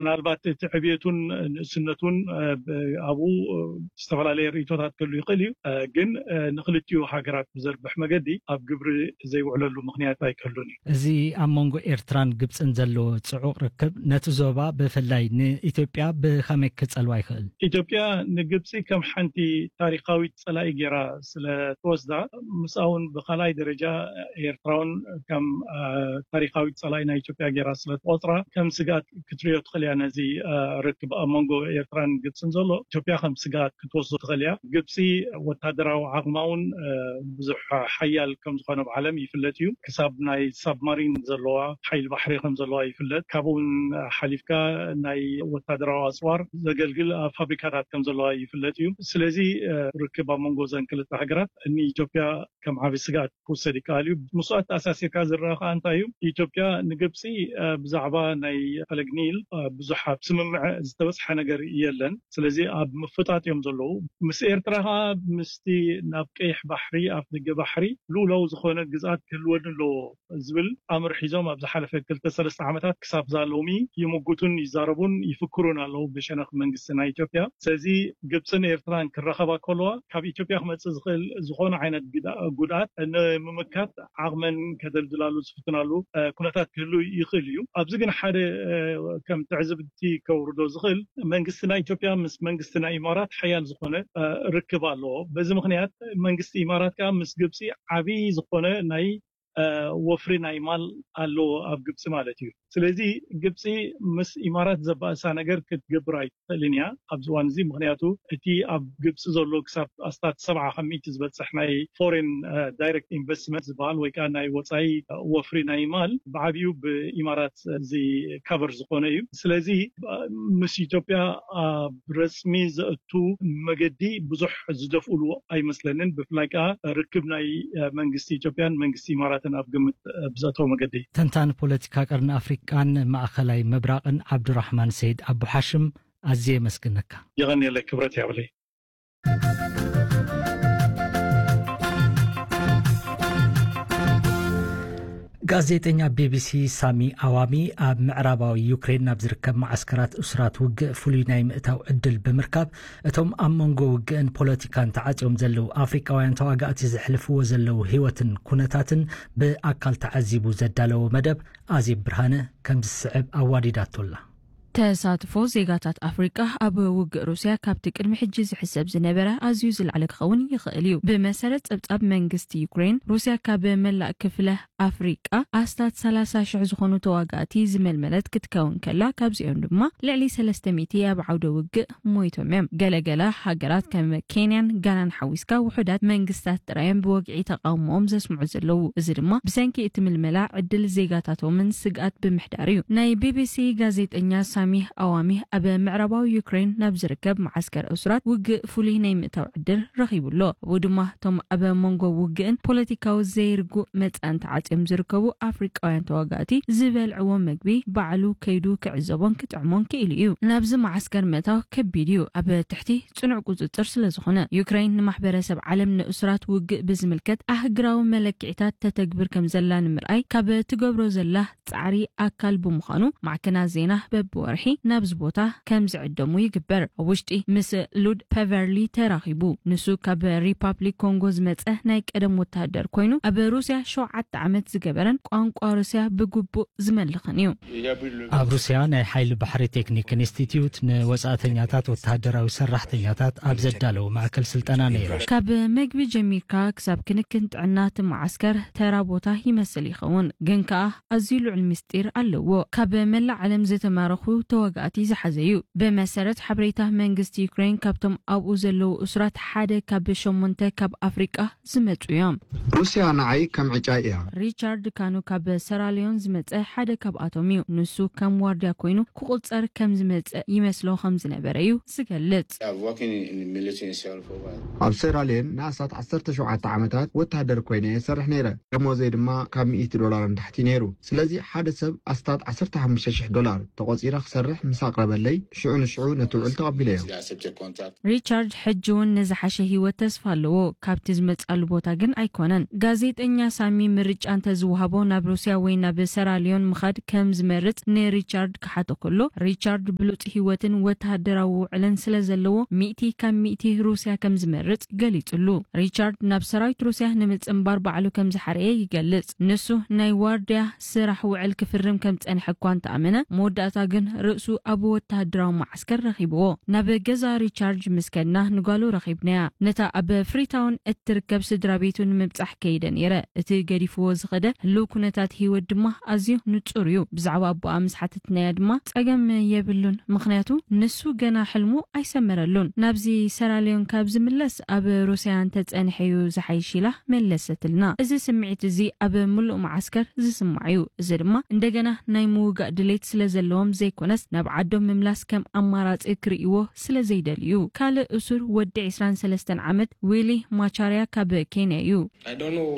ምናልባት እቲ ዕብየቱን ንእስነቱን ኣብኡ ዝተፈላለየ ርእቶታት ክህሉ ይኽእል እዩ። ግን ንክልቲኡ ሃገራት ብዘርብሕ መገዲ ኣብ ግብሪ ዘይውዕለሉ ምኽንያት ኣይክህሉን እዩ። እዚ ኣብ መንጎ ኤርትራን ግብፅን ዘሎ ፅዑቕ ርክብ ነቲ ዞባ ብፍላይ ንኢትዮጵያ ብኸመይ ክፀልዋ ይኽእል? ኢትዮጵያ ንግብፂ ከም ሓንቲ ታሪካዊት ፀላኢ ገይራ ስለትወስዳ፣ ምስኣውን ብካልኣይ ደረጃ ኤርትራውን ከም ታሪካዊት ፀላኢ ናይ ኢትዮጵያ ገይራ ስለትቆፅራ ከም ስግኣት ክትሪኦ ትኽእል እያ። ነዚ ርክብ ኣብ መንጎ ኤርትራን ግብፅን ዘሎ ኢትዮጵያ ከም ስግኣት ክትወስዶ ትኽእል እያ። ግብፂ ወታደራዊ ዓቕማ እውን ብዙሕ ሓያል ከም ዝኾነ ብዓለም ይፍለጥ እዩ። ክሳብ ናይ ሳብማሪን ዘለዋ ሓይሊ ባሕሪ ከም ዘለዋ ይፍለጥ። ካብኡ እውን ሓሊፍካ ናይ ወታደራዊ ኣፅዋር ዘገልግል ፋብሪካታት ከም ዘለዋ ይፍለጥ እዩ። ስለዚ ርክብ ኣብ መንጎ ዘን ክልተ ሃገራት ንኢትዮጵያ ከም ዓቢ ስግኣት ክውሰድ ይከኣል እዩ። ምስኡ ኣተኣሳሲርካ ዝረኣ ከዓ እንታይ እዩ? ኢትዮጵያ ንግብፂ ብዛዕባ ናይ ፈለግ ኒል ብዙሕ ኣብ ስምምዕ ዝተበፅሐ ነገር የለን። ስለዚ ኣብ ምፍጣጥ እዮም ዘለዉ። ምስ ኤርትራ ከዓ ምስቲ ናብ ቀይሕ ባሕሪ፣ ኣፍ ደገ ባሕሪ ልኡላዊ ዝኾነ ግዝኣት ክህልወኒ ኣለዎ ዝብል ኣምር ሒዞም ኣብ ዝሓለፈ ክልተ ሰለስተ ዓመታት ክሳብ ዛ ሎሚ ይምጉቱን ይዛረቡን ይፍክሩን ኣለዉ ብሸነኽ መንግስቲ ናይ ኢትዮጵያ። ስለዚ ግብፅን ኤርትራን ክራኸባ ከለዋ ካብ ኢትዮጵያ ክመፅእ ዝኽእል ዝኾነ ዓይነት ጉድኣት ንምምካት ዓቕመን ከደልድላሉ ዝፍትናሉ ኩነታት ክህሉ ይኽእል እዩ። ኣብዚ ግን ሓደ ከም ትዕዝብቲ ከውርዶ ዝኽእል፣ መንግስቲ ናይ ኢትዮጵያ ምስ መንግስቲ ናይ ኢማራት ሓያል ዝኾነ ርክብ ኣለዎ። በዚ ምኽንያት መንግስቲ ኢማራት ከዓ ምስ ግብፂ ዓብዪ ዝኾነ ናይ ወፍሪ ናይ ማል ኣለዎ ኣብ ግብፂ ማለት እዩ። ስለዚ ግብፂ ምስ ኢማራት ዘባእሳ ነገር ክትገብር ኣይትኽእልን እያ ኣብዚ እዋን እዚ። ምኽንያቱ እቲ ኣብ ግብፂ ዘሎ ክሳብ ኣስታት ሰብዓ ካብ ሚእቲ ዝበፅሕ ናይ ፎሬን ዳይሬክት ኢንቨስትመንት ዝበሃል ወይ ከዓ ናይ ወፃኢ ወፍሪ ናይ ማል ብዓብዩ ብኢማራት ዝካቨር ዝኾነ እዩ። ስለዚ ምስ ኢትዮጵያ ኣብ ረፅሚ ዘእቱ መገዲ ብዙሕ ዝደፍኡሉ ኣይመስለንን። ብፍላይ ከዓ ርክብ ናይ መንግስቲ ኢትዮጵያን መንግስቲ ኢማራትን ኣብ ግምት ብዘእተው መገዲ። ተንታን ፖለቲካ ቀርኒ ኣፍሪቃን ማእኸላይ ምብራቕን ዓብዱራሕማን ሰይድ ኣቡሓሽም ኣዝየ የመስግነካ። የቐንየለይ፣ ክብረት ያብለይ። ጋዜጠኛ ቢቢሲ ሳሚ ኣዋሚ ኣብ ምዕራባዊ ዩክሬን ናብ ዝርከብ መዓስከራት እሱራት ውግእ ፍሉይ ናይ ምእታው ዕድል ብምርካብ፣ እቶም ኣብ መንጎ ውግእን ፖለቲካን ተዓጽዮም ዘለዉ ኣፍሪቃውያን ተዋጋእቲ ዘሕልፍዎ ዘለዉ ህይወትን ኩነታትን ብኣካል ተዓዚቡ ዘዳለዎ መደብ ኣዜብ ብርሃነ ከምዚ ዝስዕብ ኣዋዲዳቶላ። ተሳትፎ ዜጋታት ኣፍሪቃ ኣብ ውግእ ሩስያ ካብቲ ቅድሚ ሕጂ ዝሕሰብ ዝነበረ ኣዝዩ ዝለዓለ ክኸውን ይኽእል እዩ። ብመሰረት ጸብጻብ መንግስቲ ዩክሬን፣ ሩስያ ካብ መላእ ክፍለ ኣፍሪቃ ኣስታት ሰላሳ ሽሕ ዝኾኑ ተዋጋእቲ ዝመልመለት ክትከውን ከላ፣ ካብዚኦም ድማ ልዕሊ ሰለስተ ሚእቲ ኣብ ዓውደ ውግእ ሞይቶም እዮም። ገለገለ ሃገራት ከም ኬንያን ጋናን ሓዊስካ ውሑዳት መንግስታት ጥራይ እዮም ብወግዒ ተቓውሞኦም ዘስምዑ ዘለዉ። እዚ ድማ ብሰንኪ እቲ ምልመላ ዕድል ዜጋታቶምን ስግኣት ብምሕዳር እዩ። ናይ ቢቢሲ ጋዜጠኛ ሳሚህ ኣዋሚህ ኣብ ምዕራባዊ ዩክሬን ናብ ዝርከብ መዓስከር እሱራት ውግእ ፍሉይ ናይ ምእታው ዕድል ረኺቡ ኣሎ። ኣብኡ ድማ እቶም ኣብ መንጎ ውግእን ፖለቲካዊ ዘይርጉእ መጻእን ተዓጽዮም ዝርከቡ ኣፍሪቃውያን ተዋጋእቲ ዝበልዕዎ መግቢ ባዕሉ ከይዱ ክዕዘቦን ክጥዕሞን ክኢሉ እዩ። ናብዚ መዓስከር ምእታው ከቢድ እዩ፣ ኣብ ትሕቲ ጽኑዕ ቁጽጽር ስለ ዝኾነ። ዩክሬን ንማሕበረሰብ ዓለም ንእሱራት ውግእ ብዝምልከት ኣህግራዊ መለክዒታት ተተግብር ከም ዘላ ንምርኣይ ካብ ትገብሮ ዘላ ጻዕሪ ኣካል ብምዃኑ፣ ማዕከናት ዜና በብወርሒ ናብዚ ቦታ ከም ዝዕደሙ ይግበር። ኣብ ውሽጢ ምስ ሉድ ፐቨርሊ ተራኺቡ። ንሱ ካብ ሪፓብሊክ ኮንጎ ዝመጸ ናይ ቀደም ወተሃደር ኮይኑ፣ ኣብ ሩስያ ሸውዓተ ዓመት ዝገበረን ቋንቋ ሩስያ ብግቡእ ዝመልኽን እዩ። ኣብ ሩስያ ናይ ሓይሊ ባሕሪ ቴክኒክ ኢንስቲትዩት ንወጻእተኛታት ወተሃደራዊ ሰራሕተኛታት ኣብ ዘዳለዎ ማእከል ስልጠና ነይረ። ካብ መግቢ ጀሚርካ ክሳብ ክንክን ጥዕና እቲ መዓስከር ተራ ቦታ ይመስል ይኸውን፣ ግን ከኣ ኣዝዩ ልዑል ምስጢር ኣለዎ። ካብ መላእ ዓለም ዝተማረኹ ተዋጋእቲ ዝሓዘ እዩ። ብመሰረት ሓበሬታ መንግስቲ ዩክሬን፣ ካብቶም ኣብኡ ዘለዉ እሱራት ሓደ ካብ ሸሞንተ ካብ ኣፍሪቃ ዝመጹ እዮም። ሩስያ ንዓይ ከም ዕጫይ እያ። ሪቻርድ ካኑ ካብ ሰራልዮን ዝመጸ ሓደ ካብኣቶም እዩ። ንሱ ከም ዋርድያ ኮይኑ ክቑጸር ከም ዝመጸ ይመስሎ ከም ዝነበረ እዩ ዝገልጽ። ኣብ ሴራልዮን ንኣስታት ዓሰርተ ሸውዓተ ዓመታት ወተሃደር ኮይነ እየ ዝሰርሕ ነይረ። ደሞዘይ ድማ ካብ ሚእቲ ዶላር ንታሕቲ ነይሩ። ስለዚ ሓደ ሰብ ኣስታት ዓሰርተ ሓሙሽተ ሽሕ ዶላር ተቖጺረ ክሰርሕ ምስ ኣቕረበለይ፣ ሽዑ ንሽዑ ነቲ ውዕል ተቐቢለዮ። ሪቻርድ ሕጂ እውን ንዝሓሸ ህይወት ተስፋ ኣለዎ፣ ካብቲ ዝመጻሉ ቦታ ግን ኣይኮነን። ጋዜጠኛ ሳሚ ምርጫ እንተዝወሃቦ ናብ ሩስያ ወይ ናብ ሰራልዮን ምኻድ ከም ዝመርጽ ንሪቻርድ ክሓቶ ከሎ፣ ሪቻርድ ብሉጽ ህይወትን ወተሃደራዊ ውዕልን ስለ ዘለዎ፣ ሚእቲ ካብ ሚእቲ ሩስያ ከም ዝመርጽ ገሊጹሉ። ሪቻርድ ናብ ሰራዊት ሩስያ ንምጽንባር ባዕሉ ከም ዝሓረየ ይገልጽ። ንሱ ናይ ዋርድያ ስራሕ ውዕል ክፍርም ከም ዝጸንሐ እኳ እንተኣመነ፣ መወዳእታ ግን ርእሱ ኣብ ወተሃደራዊ መዓስከር ረኺብዎ። ናብ ገዛ ሪቻርድ ምስ ከድና ንጓሉ ረኺብናያ። ነታ ኣብ ፍሪታውን እትርከብ ስድራ ቤቱ ንምብጻሕ ከይደ ነይረ። እቲ ገዲፍዎ ዝኸደ ህልው ኩነታት ህይወት ድማ ኣዝዩ ንጹር እዩ። ብዛዕባ ኣቦኣ ምስ ሓተትናያ ድማ ጸገም የብሉን፣ ምኽንያቱ ንሱ ገና ሕልሙ ኣይሰመረሉን። ናብዚ ሰራልዮን ካብ ዝምለስ ኣብ ሩስያ እንተጸንሐ እዩ ዝሓይሽ ኢላ መለሰትልና። እዚ ስምዒት እዚ ኣብ ምሉእ መዓስከር ዝስማዕ እዩ። እዚ ድማ እንደገና ናይ ምውጋእ ድሌት ስለ ዘለዎም ዘይኮነስ፣ ናብ ዓዶም ምምላስ ከም ኣማራጺ ክርእይዎ ስለ ዘይደልዩ እዩ። ካልእ እሱር ወዲ ዕስራን ሰለስተን ዓመት ዊሊ ማቻርያ ካብ ኬንያ እዩ። I don't know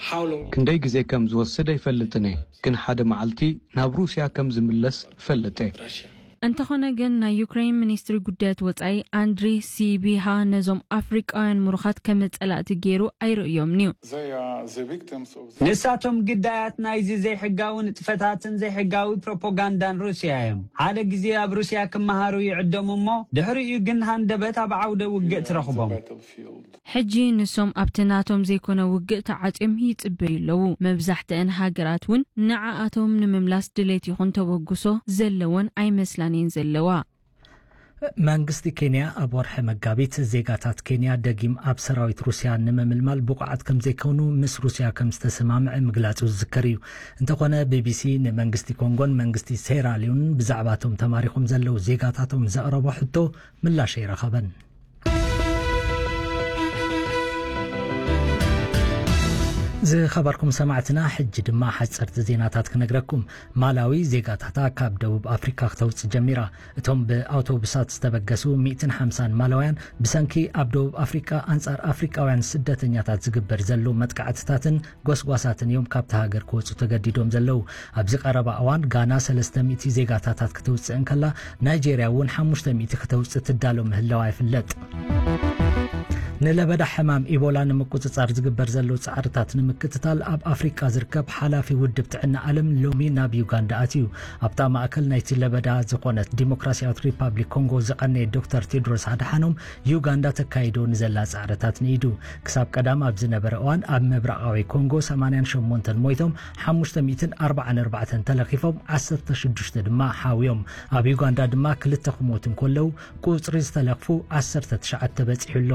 how long. ክንደይ ግዜ ከም ዝወስድ ኣይፈልጥን እየ፣ ግን ሓደ መዓልቲ ናብ ሩስያ ከም ዝምለስ እፈልጥ እየ። Russia. እንተኾነ ግን፣ ናይ ዩክሬን ሚኒስትሪ ጉዳያት ወጻኢ ኣንድሪ ሲቢሃ ነዞም ኣፍሪቃውያን ምሩኻት ከም ጸላእቲ ገይሩ ኣይርእዮምን እዩ። They are the victims of the ንሳቶም ግዳያት ናይዚ ዘይሕጋዊ ንጥፈታትን ዘይሕጋዊ ፕሮፓጋንዳን ሩስያ እዮም። ሓደ ግዜ ኣብ ሩስያ ክመሃሩ ይዕደሙ እሞ፣ ድሕሪኡ ግን ሃንደበት ኣብ ዓውደ ውግእ ትረኽቦም። Battlefield. ሕጂ ንሶም ኣብቲ ናቶም ዘይኮነ ውግእ ተዓጽዮም ይጽበዩ ኣለዉ። መብዛሕትአን ሃገራት እውን ንዓኣቶም ንምምላስ ድሌት ይኹን ተበግሶ ዘለወን ኣይመስላን እየን ዘለዋ። መንግስቲ ኬንያ ኣብ ወርሒ መጋቢት ዜጋታት ኬንያ ደጊም ኣብ ሰራዊት ሩስያ ንምምልማል ብቑዓት ከም ዘይኮኑ ምስ ሩስያ ከም ዝተሰማምዐ ምግላጹ ዝዝከር እዩ። እንተኾነ ቢቢሲ ንመንግስቲ ኮንጎን መንግስቲ ሴራሊዮንን ብዛዕባቶም ተማሪኾም ዘለዉ ዜጋታቶም ዘቕረቦ ሕቶ ምላሽ ኣይረኸበን። ዝኸበርኩም ሰማዕትና፣ ሕጂ ድማ ሓጸርቲ ዜናታት ክነግረኩም። ማላዊ ዜጋታታ ካብ ደቡብ ኣፍሪካ ክተውጽእ ጀሚራ። እቶም ብኣውቶቡሳት ዝተበገሱ ሚእትን ሓምሳን ማላውያን ብሰንኪ ኣብ ደቡብ ኣፍሪካ ኣንጻር ኣፍሪቃውያን ስደተኛታት ዝግበር ዘሎ መጥቃዕትታትን ጎስጓሳትን እዮም ካብታ ሃገር ክወጹ ተገዲዶም ዘለዉ። ኣብዚ ቀረባ እዋን ጋና ሰለስተ ሚእቲ ዜጋታታት ክተውጽእ እንከላ፣ ናይጄርያ እውን ሓሙሽተ ሚእቲ ክተውጽእ ትዳሎ ምህላዋ ይፍለጥ። ንለበዳ ሕማም ኢቦላ ንምቁጽጻር ዝግበር ዘሎ ጻዕርታት ንምክትታል ኣብ ኣፍሪቃ ዝርከብ ሓላፊ ውድብ ጥዕና ዓለም ሎሚ ናብ ዩጋንዳ ኣትዩ። ኣብታ ማእከል ናይቲ ለበዳ ዝኾነት ዲሞክራሲያዊት ሪፓብሊክ ኮንጎ ዝቐነየ ዶክተር ቴድሮስ ኣድሓኖም፣ ዩጋንዳ ተካይዶ ንዘላ ጻዕርታት ንኢዱ። ክሳብ ቀዳም ኣብ ዝነበረ እዋን ኣብ ምብራቓዊ ኮንጎ ሰማንያን ሸሞንተን ሞይቶም፣ ሓሙሽተ ሚእትን ኣርባዓን ኣርባዕተን ተለኺፎም፣ ዓሰርተ ሽዱሽተ ድማ ሓውዮም። ኣብ ዩጋንዳ ድማ ክልተ ክሞቱ እንከለዉ፣ ቁጽሪ ዝተለኽፉ ዓሰርተ ትሽዓተ በጺሑ ኣሎ።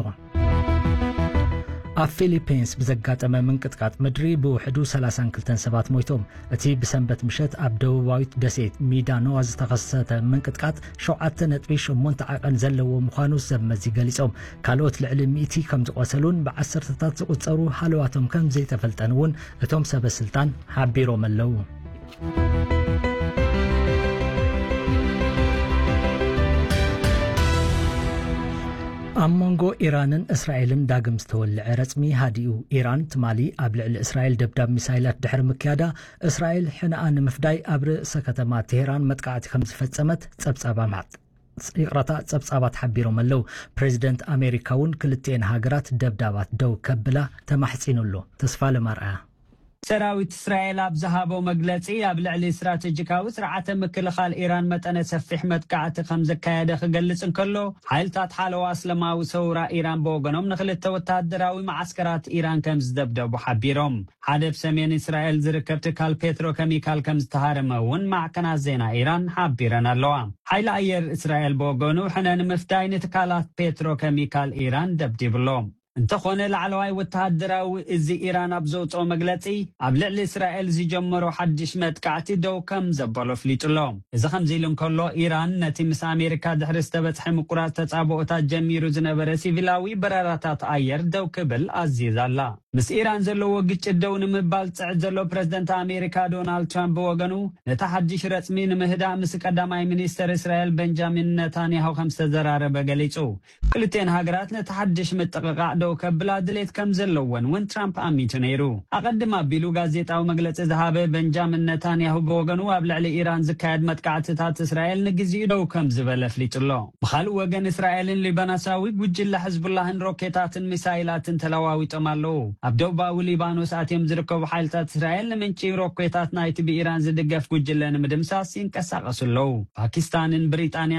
ኣብ ፊሊፒንስ ብዘጋጠመ ምንቅጥቃጥ ምድሪ ብውሕዱ ሰላሳን ክልተን ሰባት ሞይቶም። እቲ ብሰንበት ምሸት ኣብ ደቡባዊት ደሴት ሚዳኖዋ ዝተኸሰተ ምንቅጥቃጥ ሸውዓተ ነጥቢ ሸሞንተ ዓቐን ዘለዎ ምዃኑ ሰብ መዚ ገሊጾም። ካልኦት ልዕሊ ሚእቲ ከም ዝቖሰሉን ብዓሰርተታት ዝቑጸሩ ሃለዋቶም ከም ዘይተፈልጠን እውን እቶም ሰበ ስልጣን ሓቢሮም ኣለዉ። ኣብ መንጎ ኢራንን እስራኤልን ዳግም ዝተወልዐ ረጽሚ ሃዲኡ። ኢራን ትማሊ ኣብ ልዕሊ እስራኤል ደብዳብ ሚሳይላት ድሕሪ ምክያዳ፣ እስራኤል ሕነኣ ንምፍዳይ ኣብ ርእሰ ከተማ ቴሄራን መጥቃዕቲ ከም ዝፈጸመት ጸብጻባ ማዕጥ-፣ ይቕረታ፣ ጸብጻባት ሓቢሮም ኣለዉ። ፕሬዚደንት ኣሜሪካ እውን ክልቲኤን ሃገራት ደብዳባት ደው ከብላ ተማሕጺኑ ኣሎ። ተስፋ ለማርኣያ። ሰራዊት እስራኤል ኣብ ዝሃቦ መግለጺ፣ ኣብ ልዕሊ ስትራቴጂካዊ ስርዓተ ምክልኻል ኢራን መጠነ ሰፊሕ መጥቃዕቲ ከም ዘካየደ ክገልጽ እንከሎ፣ ሓይልታት ሓለዋ እስላማዊ ሰውራ ኢራን ብወገኖም ንኽልተ ወተሃደራዊ መዓስከራት ኢራን ከም ዝደብደቡ ሓቢሮም። ሓደ ብ ሰሜን እስራኤል ዝርከብ ትካል ፔትሮ ኬሚካል ከም ዝተሃረመ እውን ማዕከናት ዜና ኢራን ሓቢረን ኣለዋ። ሓይሊ ኣየር እስራኤል ብወገኑ ሕነ ንምፍዳይ ንትካላት ፔትሮ ኬሚካል ኢራን ደብዲቡ ኣሎ። እንተኾነ ላዕለዋይ ወተሃደራዊ እዚ ኢራን ኣብ ዘውፅኦ መግለፂ ኣብ ልዕሊ እስራኤል ዝጀመሮ ሓድሽ መጥቃዕቲ ደው ከም ዘበሎ ኣፍሊጡ ኣሎ። እዚ ከምዚ ኢሉ እንከሎ ኢራን ነቲ ምስ ኣሜሪካ ድሕሪ ዝተበፅሐ ምቁራፅ ተፃብኦታት ጀሚሩ ዝነበረ ሲቪላዊ በረራታት ኣየር ደው ክብል ኣዚዛ ኣላ። ምስ ኢራን ዘለዎ ግጭት ደው ንምባል ዝጽዕት ዘሎ ፕረዚደንት ኣሜሪካ ዶናልድ ትራምፕ ብወገኑ፣ ነቲ ሓድሽ ረጽሚ ንምህዳእ ምስ ቀዳማይ ሚኒስተር እስራኤል በንጃሚን ነታንያሁ ከም ዝተዘራረበ ገሊጹ። ክልቴን ሃገራት ነቲ ሓድሽ ምጥቕቓዕ ደው ከብላ ድሌት ከም ዘለወን እውን ትራምፕ ኣሚቱ ነይሩ። ኣቐድም ኣቢሉ ጋዜጣዊ መግለጺ ዝሃበ በንጃሚን ነታንያሁ ብወገኑ፣ ኣብ ልዕሊ ኢራን ዝካየድ መጥቃዕትታት እስራኤል ንግዜኡ ደው ከም ዝበለ ኣፍሊጡ ኣሎ። ብኻልእ ወገን፣ እስራኤልን ሊባኖሳዊ ጉጅለ ሕዝቡላህን ሮኬታትን ሚሳይላትን ተለዋዊጦም ኣለዉ። ኣብ ደቡባዊ ሊባኖስ ኣትዮም ዝርከቡ ሓይልታት እስራኤል፣ ንምንጪ ሮኬታት ናይቲ ብኢራን ዝድገፍ ጉጅለ ንምድምሳስ ይንቀሳቐሱ ኣለዉ። ፓኪስታንን ብሪጣንያን